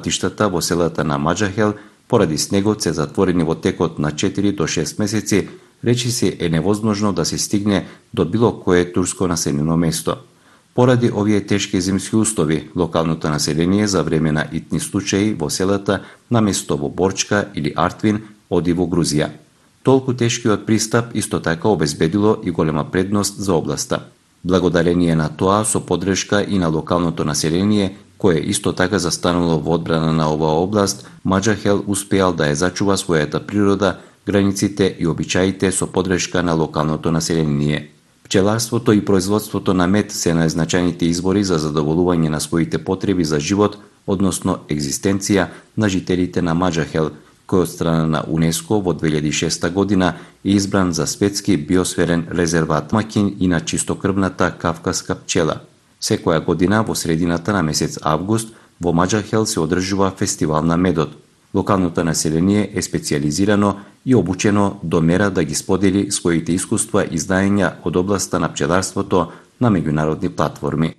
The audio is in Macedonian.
Патиштата во селата на Маџахел поради снегот се затворени во текот на 4 до 6 месеци, речиси е невозможно да се стигне до било кое турско населено место. Поради овие тешки зимски услови, локалното население за време на итни случаи во селата наместо во Борчка или Артвин оди во Грузија. Толку тешкиот пристап исто така обезбедило и голема предност за областа. Благодарение на тоа, со поддршка и на локалното население, кое исто така застанало во одбрана на оваа област, Маџахел успеал да ја зачува својата природа, границите и обичаите со поддршка на локалното население. Пчеларството и производството на мед се најзначајните извори за задоволување на своите потреби за живот, односно екзистенција на жителите на Маџахел, кој од страна на УНЕСКО во 2006 година е избран за светски биосферен резерват, домаќин и на чистокрвната кавказка пчела. Секоја година во средината на месец август во Маџахел се одржува фестивал на медот. Локалното население е специјализирано и обучено до мера да ги сподели своите искуства и знаења од областа на пчеларството на меѓународни платформи.